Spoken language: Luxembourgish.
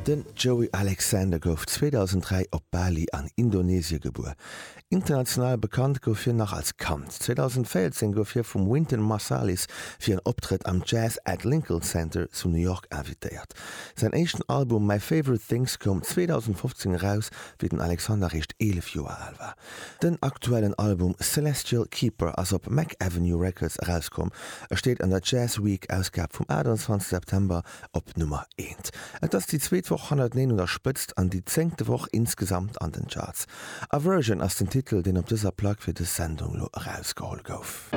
Den Joey Alexander gouf 2003 op Bali an Indonesie gebuer. International bekannt gouf hien nach als Kand. 2014 gouf hie vum Wynton Marsalis fir en Optrëtt am Jazz at Lincoln Center zu New York invitéiert. Säin éischten Album My Favorite Things koum 2015 eraus, wéi den Alexander réischt 11 Joer al war. Den aktuellen Album Celestial Keeper ass op Mack Avenue Records erauskomm. E steet an der Jazz Week Ausgab vum 28 September op Nummer eent. Et ass déi zweet Woch hannerteneen un der Spëtzt an déi zéngte Woch insgesamt an den Charts. Aversion ass den Titel, deen op dëser Plack fir dës Sendung lo erausgeholl gouf.